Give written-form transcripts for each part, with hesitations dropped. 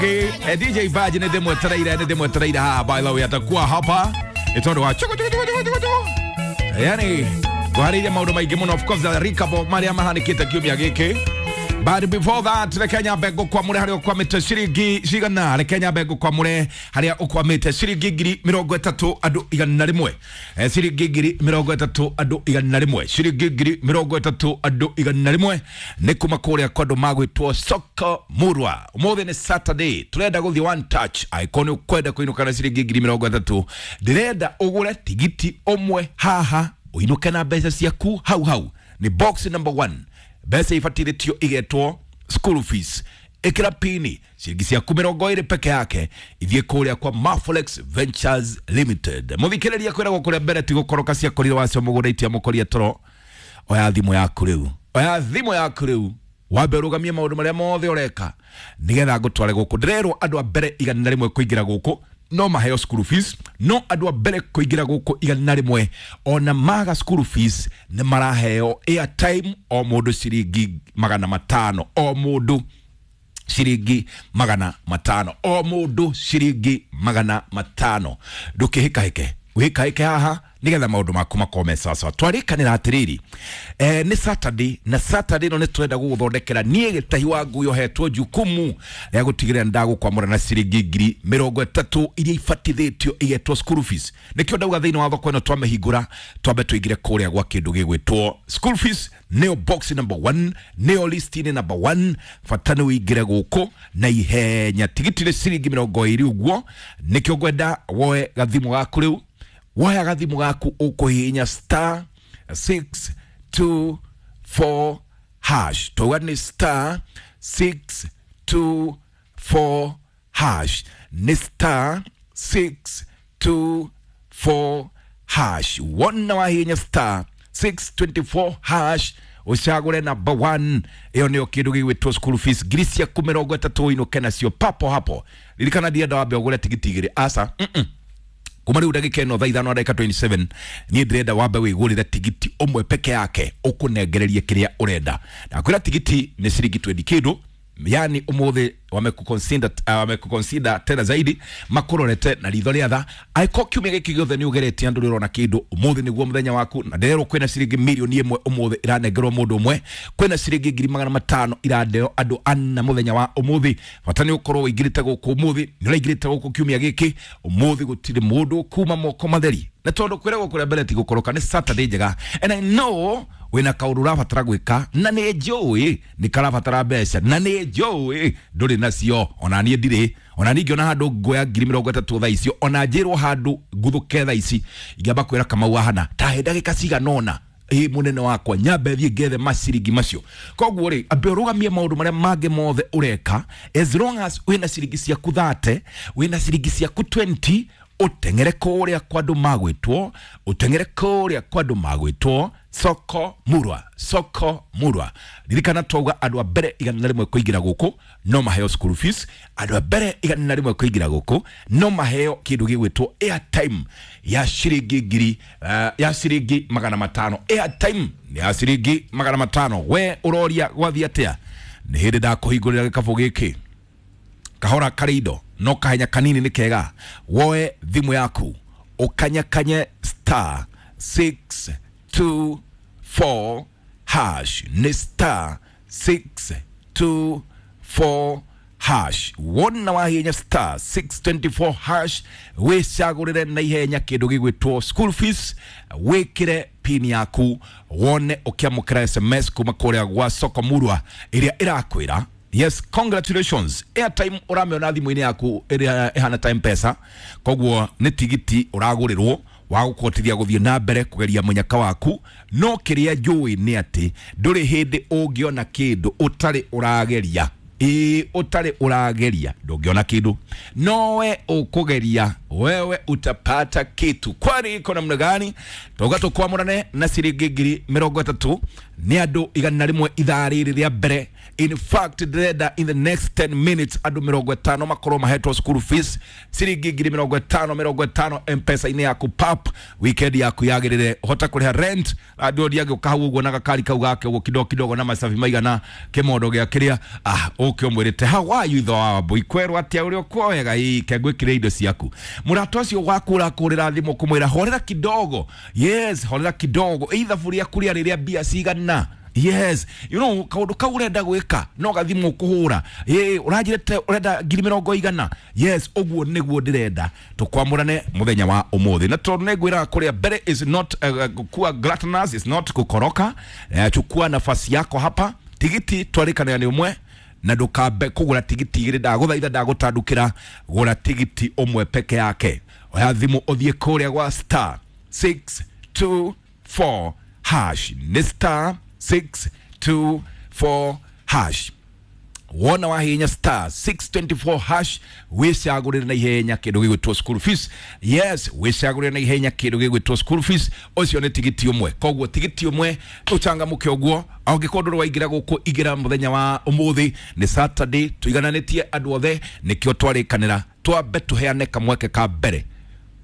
DJ Baji nĩ ndĩmwetereire, nĩ ndĩmwetereire haha. By the way, atakuwa hapa nĩ tondũ wa chuku chuku chuku chuku chuku, yani ngũharĩirie maũndũ maingĩ mũno, of course recap marĩa mahanĩkĩte kiumia gĩkĩ. But before that, reke nyambe ngũkwamũre harĩa ũkwamĩte ciringi cigana. Reke nyambe ngũkwamũre harĩa ũkwamĩte ciringi 30,000 andũ 100. Ciringi 30,000 andũ 100, ciringi 30,000 andũ 100 nĩ kuma kũrĩa kwa andũ magwĩtwo Soko Murwa. Ũmũthĩ nĩ Saturday, tũrenda gũthiĩ one touch. Angĩkorwo nĩ ũkwenda kũinũka na ciringi 30,000, ndĩrenda ũgũre tigiti ũmwe haha ũinũke na mbeca ciaku hau hau. Nĩ box number 1, mbeca ibatirĩtio igetwo school fees. Ĩkĩra pini, ciringi ciaku 20 peke yake ithiĩ kũrĩa kwa Mafolex Ventures Limited. Mũthikĩrĩria, kwĩragwo kũrĩa mbere ti gũkoroka ciakorire wacio mũgũnda itiamũkoria toro. Oya thimũ yaku rĩu, oya thimũ yaku rĩu, wambe ũrũgamie maũndũ marĩa mothe ũreka nĩgetha ngũtware gũkũ. Ndĩrerwo andũ a mbere 100 kũingĩra gũkũ no maheo school fees, no andũ a mbere kũingĩra gũkũ 100 ona maga school fees nĩ maraheo airtime, o mũndũ ciringi 500, o mũndũ ciringi 500, o mũndũ ciringi 500. Ndũkĩhĩkahĩke, wĩhĩkahĩke haha nigetha maũndũ maku makorwo me sawasawa. Twarĩkanĩra atĩrĩrĩ, nĩ Saturday, na Saturday ĩno nĩ tũrenda gũgũthondekera. Niĩ gĩtahi wa ngui ohetwo jukumu rĩa gũtigĩrĩra ndagũkwamũra na ciringi 30,000 iria ibatithĩtio igetwo school fees. Nĩkĩo ndauga thĩinĩ wa thoko ĩno twamĩhingũra twambe tũingĩre kũrĩa gwa kĩndũ gĩgwĩtwo school fees, nĩyo box number 1, nĩyo list-inĩ number 1. Bata nĩ ũingĩre gũkũ na ihenya. Tigiti nĩ ciringi 20 ũguo. Nĩkĩo ngwenda woe gathimũ gaku rĩu. Woya gathimũ gaku, ũkũhihinya star 624 hash. Twauga nĩ star 624 hash, nĩ star 624 hash. Wona wahihinya star 624 hash, ucagũre number 1, ĩyo nĩyo kĩndũ gĩgwĩtwo school fees, ciaku 30 ũinũke nacio papo hapo. Ririkana ndienda wambe ũgũre tigiti igĩrĩ, aca. Kuma rĩu ndagĩka ĩno thaa 5 na ndagĩka 27, niĩ ndĩrenda wambe wĩgũrĩre tigiti ũmwe peke yake ũkũnengererie kĩrĩa ũrenda. Ndakwĩra tigiti nĩ ciringi 20 kĩndũ, yani umuthi wamekuconsider, wamekuconsider tena zaidi, makurorete na ritho rĩa tha. Angĩkorwo kiumia gĩkĩ gĩothe nĩ ũgeretie andũ rĩrona kĩndũ, ũmũthĩ nĩguo mũthenya waku. Na ndĩrerwo kwĩna ciringi 1 million ũmũthĩ ĩranengerwo mũndũ ũmwe, kwĩna ciringi 500,000 iraneo andũ ana mũthenya wa ũmũthĩ. Bata nĩ ũkorwo ũingĩrĩte gũkũ ũmũthĩ, nĩ ũraingĩrĩte gũkũ kiumia gĩkĩ. Ũmũthĩ gũtirĩ mũndũ kuma moko matheri, na tondũ kwĩragwo kũrĩa mbere ti gũkoroka, nĩ Saturday njega and I know wĩna kaũndũ ũrabatara gwĩka, na nĩ njũĩ nĩ karabatara mbeca, na nĩ njũĩ ndũrĩ nacio. Ona niĩ ndirĩ. Ona niĩ ingĩona handũ nguoya 30,000 thaa icio, ona njĩrwo handũ nguthũke thaa ici, ingĩamba kwĩra Kamau ahana tahe ndagĩka cigana ũna, ĩ mũnene wakwa, nyambe thiĩ ngethe maciringi macio. Koguo rĩ, ambe ũrũgamie maũndũ marĩa mangĩ mothe ũreka. As long as wĩna ciringi ciaku 30, wĩna ciringi ciaku 20, ũteng'ere kũrĩa kwa andũ magwĩtwo, ũteng'ere kũrĩa kwa andũ magwĩtwo Soko Murwa, Soko Murwa. Ririkana twauga andũ a mbere 100 kũingĩra gũkũ no maheo school fees, andũ a mbere 100 kũingĩra gũkũ no maheo kĩndũ gĩgwĩtwo airtime ya ciringi ngiri, ya ciringi 500. Airtime nĩ ya ciringi 500. We ũroria gwathiĩ atĩa? Nĩ hĩndĩ ndakũhingũrĩra gĩkabũ gĩkĩ kahora karĩ indo, no kahenya kanini nĩ kega. Woe thimũ yaku, ũkanyakanye star 624 hash, nĩ star 624 hash. Wona wahinya star 624 hash, wĩcagũrĩre na ihenya kĩndũ gĩgwĩtwo school fees, wĩkĩre pin yaku, wone ũkĩamũkĩra SMS kuma kũrĩa gwa Soko Murwa ĩrĩa ĩrakwĩra yes, congratulations, airtime ũramĩona thimũ-inĩ yaku ĩrĩa ĩhana ta Mpesa. Koguo nĩ tigiti ũragũrĩrwo wa gũkũhotithia gũthiĩ na mbere kũgeria mũnyaka waku. No kĩrĩa njũĩ nĩ atĩ ndũrĩ hĩndĩ ũngĩona kĩndũ ũtarĩ ũrageria. Ĩĩ, ũtarĩ ũrageria ndũngĩona kĩndũ, nowe ũkũgeria. Wewe utapata kitu. Kwani iko namna gani? Toga tukwamurane na ciringi 30,000 ni andu 100 ithaa rĩrĩ rĩa mbere. In fact ndĩrenda in the next 10 minutes andu 50 makorwo mahetwo school fees ciringi 50,000 50 M-Pesa-inĩ yaku pap weekend yaku yagĩrĩre hota kũrĩha rent andũ ndiangĩũka hau ũguo na gakari kau gake ũguo kidogo kidogo na macabi maigana kĩmondo gĩa kĩrĩa ũke ũmwĩrĩte how are you though wambui kwerwo atĩa ũrĩa ũkuoyaga ĩ kengwĩkĩre indo ciaku mũrata ũcio waku ũrakũrĩra thimũ kũmwĩra horera kidogo, yes horera kidogo ithabu rĩaku rĩarĩ rĩa mbia cigana. Yes, you know kaundu kau urenda gwika no gathimu kuhura uranjirite urenda 100,000. Yes, uguo niguo ndirenda tukwamurane muthenya wa umuthi na tondu ningwiraga kuria mbere is not kuwa gluttonous, is not kukoroka. Chukua nafasi yako hapa. Tigiti twarikana ni umwe na ndukambe kugura tigiti igiri, ndaguthaitha ndagutandukira, gura tigiti umwe peke yake. Oya thimu uthie kuria gwa star 624 hash, ni star 624 hash. Wona wahinya star 624 hash wicagurire na ihenya kindu gigwitwo school fees. Yes, wicagurire na ihenya kindu gigwitwo school fees. Ucio ni tigiti umwe, koguo tigiti umwe ucangamuke uguo. Angĩkorwo ndũrĩ waingĩra gũkũ ingĩra mũthenya wa ũmũthĩ nĩ Saturday, tũigananĩtie andũ othe, nĩkĩo twarĩkanĩra twambe tũheane kamweke ka mbere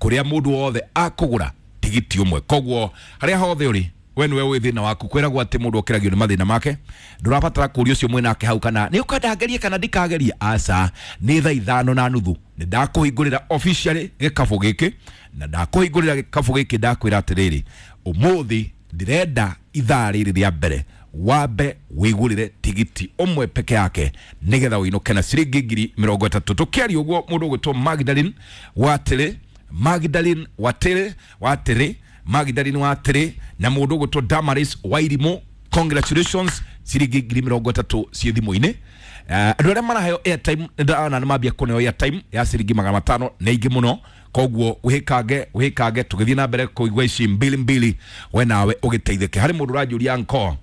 kũrĩa mũndũ wothe akũgũra tigiti ũmwe. Koguo harĩa hothe ũrĩ we niwe wĩ thĩna waku, kwĩragwo atĩ mũndũ okĩragio nĩ mathĩna make, ndũrabatara kũria ũcio mwĩnake hau kana nĩ ũkwenda ngerie kana ndikagerie. Aca, nĩ 5:30 nĩ ndakũhingũrĩra officially gĩkabũ gĩkĩ, na ndakũhingũrĩra gĩkabũ gĩkĩ ndakwĩra atĩrĩrĩ, ũmũthĩ ndĩrenda ithaa rĩrĩ rĩa mbere wambe wĩgũrĩre tigiti ũmwe peke yake nĩgetha ũinũke na ciringi 30,000. Tũkĩaria ũguo mũndũ ũgwĩtwo Magdalene Watĩrĩ, Magdalene Watĩrĩ, Watĩrĩ, Magdalene Watĩrĩ na mũndũ ũgwĩtwo Damaris Wairimu, congratulations, ciringi 30,000 ciĩ thimũ-inĩ. Andũ arĩa maraheo airtime nĩndĩrona nĩ mambia kũneo airtime ya ciringi 500 nĩ ingĩ mũno, koguo wĩkange wĩkange tũgĩthiĩ na mbere kũigua ici mbili mbili, we nawe ũgĩteithĩke. Harĩ mũndũ ũranjũria nko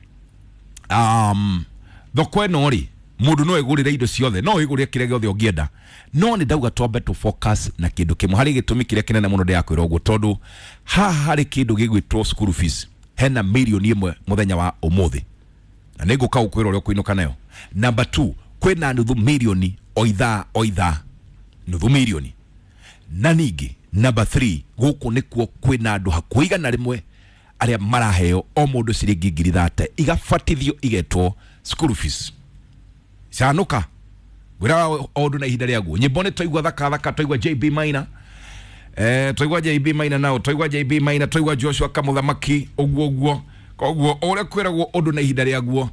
thoko ĩno rĩ mũndũ no egũrĩre indo ciothe, no wĩgũrĩre kĩrĩa gĩothe ũngĩenda, no nĩ ndauga twambe tũ focus na kĩndũ kĩmwe. Harĩ gĩtũmi kĩrĩa kĩnene mũno ndĩrakwĩra ũguo, tondũ haha harĩ kĩndũ gĩgwĩtwo school fees, hena 1,000,000 mũthenya wa ũmũthĩ na nĩngũka gũkwĩra ũrĩa ũkũinũka nayo. Number 2, kwĩna 500,000 o ithaa o ithaa, 500,000. Na ningĩ number 3, gũkũ nĩkuo kwĩna andũ hakuhĩ 100 arĩa maraheo o mũndũ ciringi 30,000 igabatithio igetwo school fees. Canuka ngwĩraga o ũndũ na ihinda rĩaguo. Nyĩmbo nĩ twaigua thaka thaka, twaigua JB Maina, twaigua JB Maina nao, twaigua JB Maina, twaigua Joshua Kamuthamaki, ũguo ũguo. Koguo o ũrĩa kwĩragwo ũndũ na ihinda rĩaguo,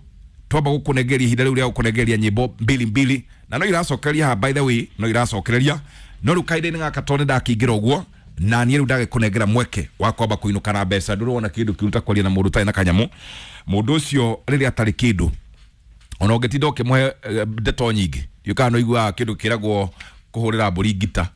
twamba gũkũnengeria ihinda rĩu rĩa gũkũnengeria nyĩmbo mbili mbili, na no iracokereria haha, by the way, no iracokereria no rĩu kahinda-inĩ gaka tondũ nĩndakĩingĩra ũguo na niĩ rĩu ndagĩkũnengera mweke wa kwamba kũinũka na mbeca. Ndũrona kĩndũ kĩu ta kwaria na mũndũ ũtarĩ na kanyamũ, mũndũ ũcio rĩrĩa atarĩ kĩndũ ona ũngĩtinda ũkĩmũhe ndeto nyingĩ, ndiũĩ kana nĩũiguaga kĩndũ kĩragwo kũhũrĩra mbũri ngita,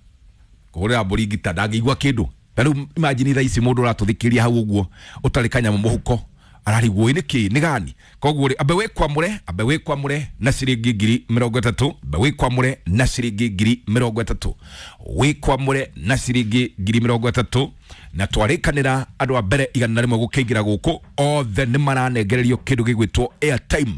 kũhũrĩra mbũri ngita ndangĩigua kĩndũ. Ta rĩu imagine thaa ici mũndũ ũratũthikĩrĩria hau ũguo ũtarĩ kanyamũ mũhuko ararigwo nĩ kĩ nĩ gani. Koguo rĩ ambe wĩkwamũre, ambe wĩkwamũre na ciringi 30,000, ambe wĩkwamũre na ciringi 30,000, wĩkwamũre na ciringi 30,000. Na twarĩkanĩra andũ a mbere 100 gũkĩingĩra gũkũ othe nĩ maranengererio kĩndũ gĩgwĩtwo airtime.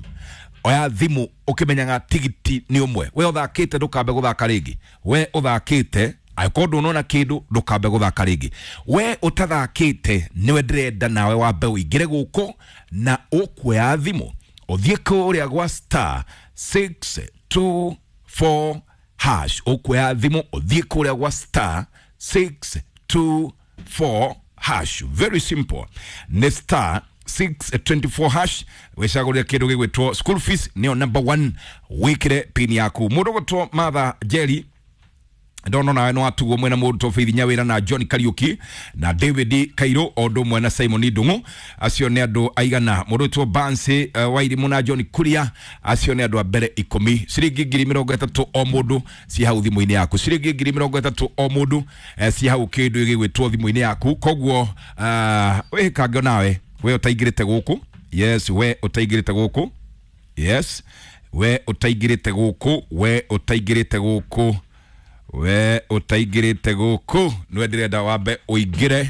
Oya thimũ ũkĩmenyaga tigiti nĩ ũmwe, we ũthakĩte ndũkambe gũthaka rĩngĩ, we ũthakĩte angĩkorwo ndũnona kĩndũ ndũkambe gũthaka rĩngĩ, we ũtathakĩte nĩwe ndĩrenda nawe wambe ũingĩre gũkũ na ũkuoya thimũ ũthiĩ kũrĩa gwa star 624 hash, ũkuoya thimũ ũthiĩ kũrĩa gwa star 624 hash. Very simple, nĩ star 624 hash wicagũrĩre kĩndũ gĩgwĩtwo school fees, nĩyo number 1, wĩkĩre pin yaku. Mũndũ ũgwĩtwo Martha Jerry ndono nawe no atugo mwena mũndũ Faith Nyawira na John Kariuki na David Kairo o ũndũ ũmwe na Simon Ndung'u, acio nĩ andũ aigana. Mũndũ ũgwĩtwo Bansi Wairimu na John Kuria, acio nĩ andũ a mbere 10. Ciringi 30,000 o mũndũ ci hau thimũ-inĩ yaku, ciringi 30,000 o mũndũ ci hau kĩndũ gĩgwĩtwo thimũ-inĩ yaku. Koguo wĩkange nawe we ũtaingĩrĩte gũkũ, yes we ũtaingĩrĩte gũkũ, yes we ũtaingĩrĩte gũkũ, we ũtaingĩrĩte gũkũ, We ũtaingĩrĩte gũkũ nĩwe ndĩrenda wambe ũingĩre.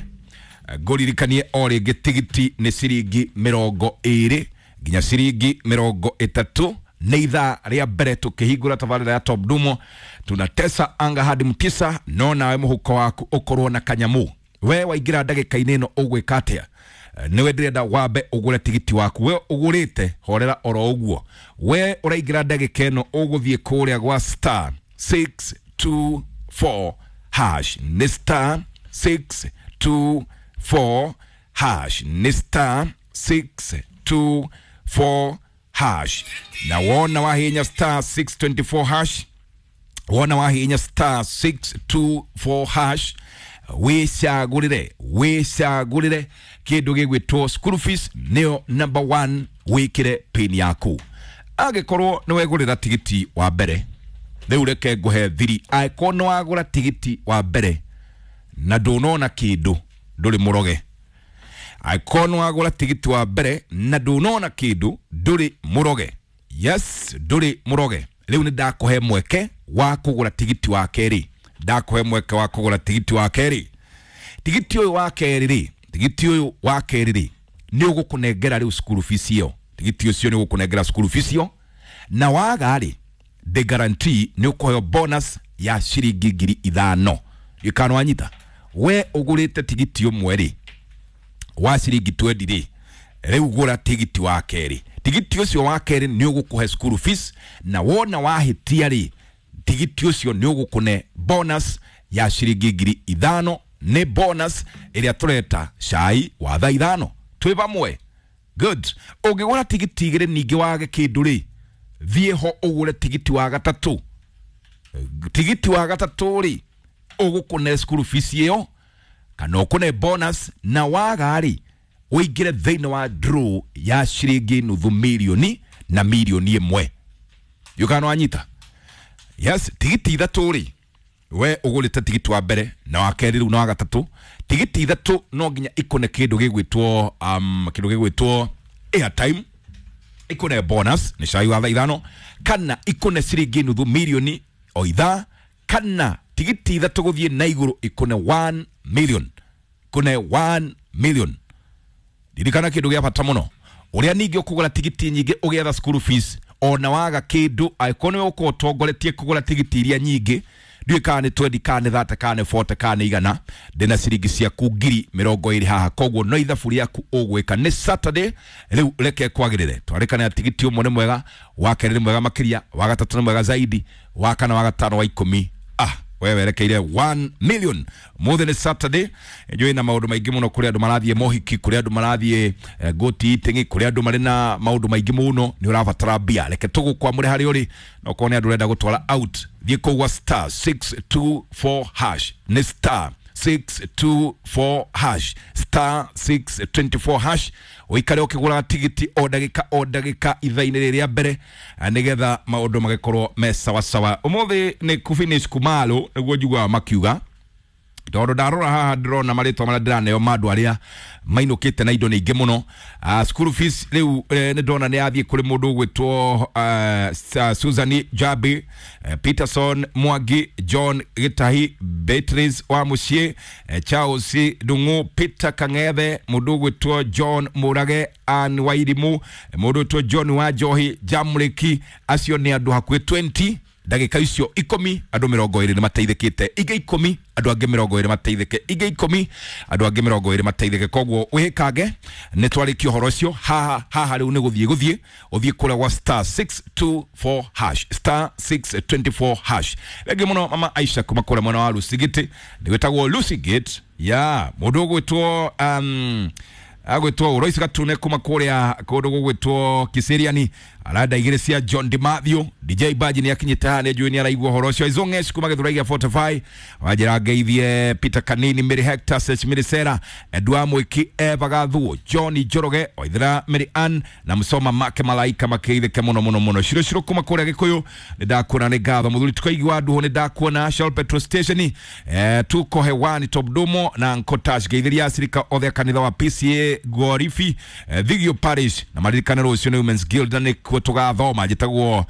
Ngũririkanie o rĩngĩ tigiti nĩ ciringi 20 nginya ciringi 30. Nĩ ithaa rĩa mbere tũkĩhingũra tabarĩra ya Top Dumo, tunatesa anga hadi mtisa. No nawe mũhuko waku ũkorwo na kanyamu. We waingĩra ndagĩka-inĩ ĩno ũgwĩka atĩa? Nĩwe ndĩrenda wambe ũgũre tigiti waku. We ũgũrĩte horera oro ũguo. We ũraingĩra ndagĩka ĩno ũgũthiĩ kũrĩa gwa star 624 hash, nĩ star 624 hash, nĩ star 624 hash. Na wona wahinya star 624 hash, wona wahinya star 624 hash, wicagũrĩre wicagũrĩre kĩndũ gĩgwĩtwo school fees, nĩyo number 1, wĩkĩre pin yaku. Angĩkorwo nĩ wegũrĩra tigiti wa mbere, rĩu reke ngũhe thiri. Angĩkorwo nĩ wagũra tigiti wa mbere na ndũnona kĩndũ, ndũrĩ mũroge. Angĩkorwo nĩ wagũra tigiti wa mbere na ndũnona kĩndũ, ndũrĩ mũroge. Yes, ndũrĩ mũroge. Rĩu nĩ ndakũhe mweke wa kũgũra tigiti wa kerĩ, ndakũhe mweke wa kũgũra tigiti wa kerĩ. Tigiti ũyũ wa kerĩ rĩ, tigiti ũyũ wa kerĩ rĩ, nĩ ũgũkũnengera rĩu school fees ĩyo. Tigiti ũcio nĩ ũgũkũnengera school fees ĩyo, na waga rĩ, the guarantee nĩ ũkũheo bonus ya ciringi 5,000. Gĩkano wanyita, we ũgũrĩte tigiti ũmwe rĩ wa ciringi 20 rĩ, rĩu gũra tigiti wa kerĩ. Tigiti ũcio wa kerĩ nĩ ũgũkũhe school fees, na wona wahĩtia rĩ, tigiti ũcio nĩ ũgũkũne bonus ya ciringi 5,000. Nĩ bonus ĩrĩa tũreta cai wa thaa 5. Twĩ vamwe? Good. Ũngĩgũra tigiti igĩrĩ ningĩ wage kĩndũ rĩ, thiĩ ho ũgũre tigiti wa gatatũ. Tigiti wa gatatũ rĩ, ũgũkũne school fees ĩyo kana ũkũne bonus, na waga rĩ, ũingĩre thĩinĩ wa draw ya ciringi 500,000 na 1,000,000. Yukano wanyita? Yes. Tigiti ithatũ rĩ, we ũgũrĩte tigiti wa mbere na wa kerĩ rĩu na wa gatatũ, tigiti ithatũ no nginya ikũne kĩndũ gĩgwĩtwo kĩndũ gĩgwĩtwo airtime, ikũne bonus nĩ cai wa thaa 5, kana ikũne ciringi 500,000 o ithaa, kana tigiti ithatũ gũthiĩ na igũrũ ikũne 1 million, ikũne 1 million. Ririkana kĩndũ gĩa bata mũno, ũrĩa ningĩ ũkũgũra tigiti nyingĩ ũgĩetha school fees, ona waga kĩndũ, angĩkorwo nĩwe ũkorwo ũtongoretie kũgũra tigiti iria nyingĩ, ndiũĩ kana nĩ 20 kana nĩ 30 kana nĩ 40 kana nĩ 100, ndĩna ciringi ciaku 20,000 haha. Koguo no ithabu rĩaku ũgwĩka. Nĩ Saturday rĩu, reke kwagĩrĩre. Twarĩkana tigiti ũmwe nĩ mwega, wa kerĩ nĩ mwega makĩria, wa gatatũ nĩ mwega zaidi, wa kana, wa gatano, wa 10, we werekeire 1 million. Mũthĩ nĩ Saturday, njũĩ na maũndũ maingĩ mũno, kũrĩ andũ marathiĩ mohiki, kũrĩ andũ marathiĩ goti eating, kũrĩ andũ marĩ na maũndũ maingĩ mũno, nĩ ũrabatara mbia. Reke tũgũkwamũre harĩa ũrĩ, na okorwo nĩ andũ ũrenda gũtwara out, thiĩ kũu gwa star 624 hash, nĩ star 624 hash, star 624 hash. Ũikare ũkĩgũraga tigiti o ndagĩka o ndagĩka ithaa-inĩ rĩrĩ rĩa mbere, nĩgetha maũndũ magĩkorwo me sawasawa. Ũmũthĩ nĩ kũfinish kumalo, nĩguo njiguaga makiuga, tondũ ndarora haha ndĩrona marĩtwa marĩa ndĩraneo ma andũ arĩa mainũkĩte na indo nyingĩ mũno. School fees rĩu nĩ ndona nĩ yathiĩ kũrĩ mũndũ ũgwĩtwo Susan Jabi, Peterson Mwangi, John Gĩtahi, Beatrice wa Mũciĩ, Charles Ndung'u, Peter Kang'ethe, mũndũ ũgwĩtwo John Mũrage, Ann Wairimu, mũndũ ũgwĩtwo John wa Njohi, Jamriki. Acio nĩ andũ hakuhĩ 20. Ndagĩka icio 10 andũ 20 nĩ mateithĩkĩte, ingĩ 10 andũ angĩ 20 mateithĩke, ingĩ 10 andũ angĩ 20 mateithĩke. Koguo wĩkange nĩ twarĩkia ũhoro ũcio haha haha. Rĩu nĩ gũthiĩ gũthiĩ ũthiĩ kũrĩa gwa star 624 hash, star 624 hash. Rĩngĩ mũno mama Aisha kuma kũrĩa mwena wa Lusigiti, nĩ gwĩtagwo Lusigate ya mũndũ ũgwĩtwo agwĩtwo Royce Gatune kuma kũrĩa kũndũ gũgwĩtwo Kiseriani, aranda igĩrĩ cia John DiMathew. DJ Baji nĩ akinyĩte haha, nĩ njũĩ nĩ araigua ũhoro ũcio. Izongesh kuma Gĩthurai gĩa 45, wanjĩra ngeithie Peter Kanini, Mary Hector, Sesh Mary Sera, Edwa Mwiki, Eva Gathuo, John Njoroge Waithera, Mary Ann na Msoma make malaika makeithĩke mũno mũno mũno. Shiro shiro kuma kũrĩa Gĩkũyũ nĩ ndakuona, nĩ ngatho mũthuri tukaigua nduhu, nĩ ndakuona Shell petrol station, tuko hewani Top Dumo na Nkotash. Ngeithĩria acirika othe a kanitha wa PCA Gorifi, Thigio Parish, na maririkane rũciũ nĩ Women's Guild na nĩ Nĩkuo tũgathoma njĩtagwo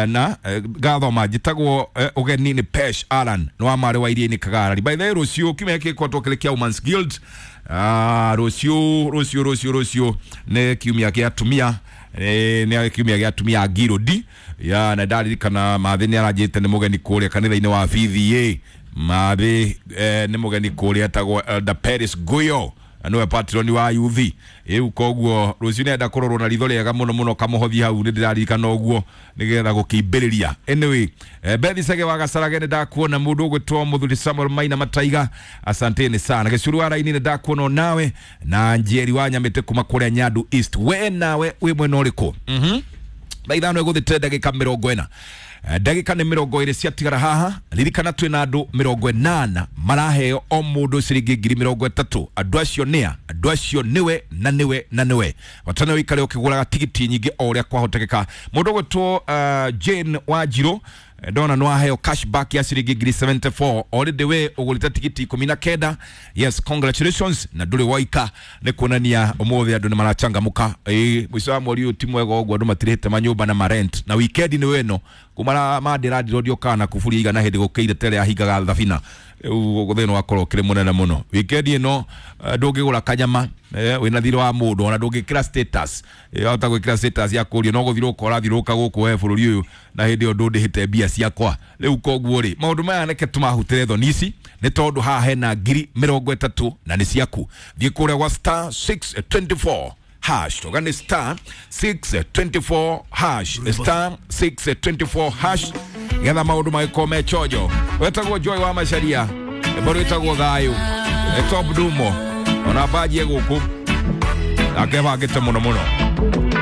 na ngathoma njĩtagwo ũgeni nĩ Pesh Alan nĩ wa marĩ wa iria-inĩ Kagarari. By the way, rũciũ kiumia gĩkĩ gĩkoretwo kĩrĩ kĩa Women's Guild. Rũciũ rũciũ rũciũ rũciũ nĩ kiumia kĩa atumia, nĩ kiumia gĩa atumia a Ngirũndi ya na ndaririkana Mathĩ nĩ aranjĩte nĩ mũgeni kũrĩa kanitha-inĩ wa VVA. Mathĩ nĩ mũgeni kũrĩa etagwo Elder Paris Guyo na nĩwe patroni wa yuthi rĩu, koguo rũciũ nĩenda kũrorwo na ritho rĩega mũno mũno kamũhothi hau nĩ ndĩraririkana ũguo nĩgetha gũkĩimbĩrĩria. Anyway, Bethi Sege wa Gacarage nĩ ndakuona, mũndũ ũgwĩtwo mũthuri Samuel Maina Mataiga, asanteni sana. Gĩcuru wa raini nĩ ndakuona nawe na Njeri wa Nyamĩtĩ kuma kũrĩa Nyandu East, we nawe wĩ mwena ũrĩkũ? Thaa 5 ĩgũthĩte ndagĩka 40, ndagĩka nĩ 20 ciatigara haha. Ririkana twĩna andũ 80 maraheo o mũndũ ciringi 30,000. Andũ acio nĩa? Andũ acio nĩwe na nĩwe na nĩwe. Bata nĩ ũikare ũkĩgũraga tigiti nyingĩ o ũrĩa kwahotekeka. Mũndũ ũgwĩtwo Jane Wanjirũ, ndona nĩ waheo cashback ya ciringi 74,000 already, we ũgũrĩte tigiti 19. Yes, congratulations, na ndũrĩ waika, nĩ kuonania ũmũthĩ andũ nĩ marachangamũka. Ĩĩ, mũico wa mweri ũyũ ti mwega ũguo, andũ matirĩhĩte manyũmba na marent na weekend nĩ weno kuma mandĩrandirwo ndiokaga na kuburi igana hĩndĩ gũkĩire tere ahingaga thabina. Rĩu thĩna wakorwo ũkĩrĩ mũnene mũno weekend ĩno, ndũngĩgũra kanyama wĩna thirĩ wa mũndũ, ona ndũngĩkĩra status, wahota gwĩkĩra status ya kũrio no gũthirũka ũrathirũka gũkũ we bũrũri ũyũ na hĩndĩ ĩyo ndũndĩhĩte mbia ciakwa. Rĩu koguo rĩ, maũndũ maya reke tũmahutĩre thoni ici nĩ tondũ haha hena 30,000 na nĩ ciaku. Thiĩ kũrĩa gwa star 624 hash, toga nĩ star 624 hash, star 624 hash, getha maũndũ magĩkorwo me chonjo. Wetagwo Joy wa Macaria, mboro ĩtagwo thayũ, top dumo ona mbanjie gũkũ nake bangĩte mũno mũno.